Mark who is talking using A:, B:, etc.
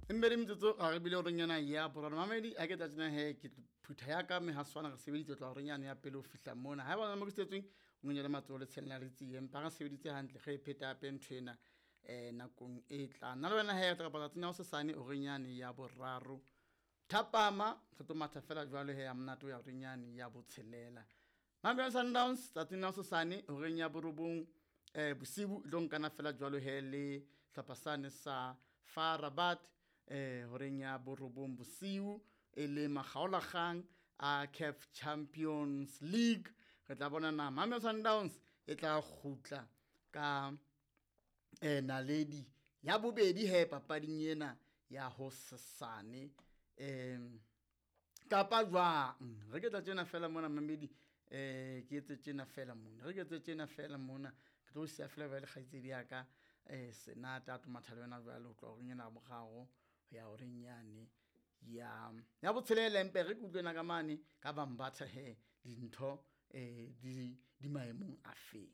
A: Embedi metsotso ga re bile goreng yana ya boraro mamedi a ke tla tsena he ke phutha ya ka mehaswana re sebeditse tla goreng yane ya pele ho fihla mona ha ba mo ke setsweng o nyenyele matsoho le tshelela re tsie empa re sebeditse hantle re e pheta hape ntho ena nakong e tlang nna le wena he re tla kopana tsatsing la hosesane horeng yane ya boraro thapama re tlo matha fela jwalo he ya monate ho ya horeng yane ya botshelela. Mamelodi Sundowns tsatsing la hosesane horeng ya borobong bosibu e tlo nkana fela jwalo he le hlopha sane sa FAR Rabat horeng ya borobong bosiu e le makgaolakgang a CAF Champions League. Re tla bona na Mamelodi Sundowns e tla kgutla ka naledi ya bobedi he papading ena ya hosesane kapa jwang. Re ke tla tjena fela mona mamedi ke etse tjena fela mona, re ke etse tjena fela mona, ke tlo siya fela jwale kgaitsedi ya ka Senate a tlo matha le wena jwale ho tloha horeng ena ya boraro ho ya horeng yane ya ya botshelela. Empe re ke utlwe ka mane ka Bambatha he dintho di maemong a feng.